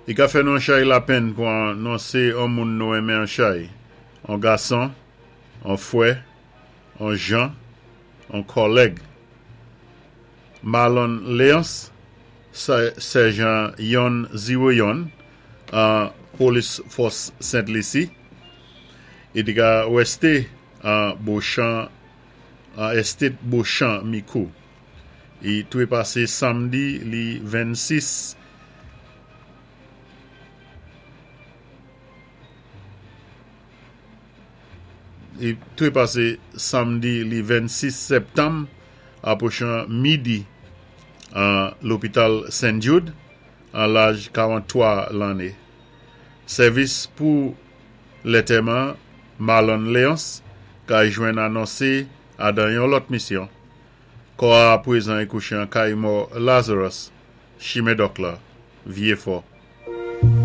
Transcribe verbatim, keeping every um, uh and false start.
I ka fè nou an chay lapenn pou anonsé an moun nou enmen an chay. An gason, an fwè, an jan, an kòlèg. Marlon Léonce, sèjan yon ziwo yon, an polis fòs Sent Lisi. I té ka wésté an Beauchamp, an estate Beauchamp Micoud. I twépasé samdi li vennsis I twépasé samdi li vennsis sèptanm apwochan midi an lopital Saint Jude an laj karanntwa lanné. Sèvis pou lantèman Marlon Léonce ka jwenn anonsé adan yon lòt misyon. Kò a apwézan i kouché an kay mò Lazarus, Chimen Dòk la, Vyé Fò.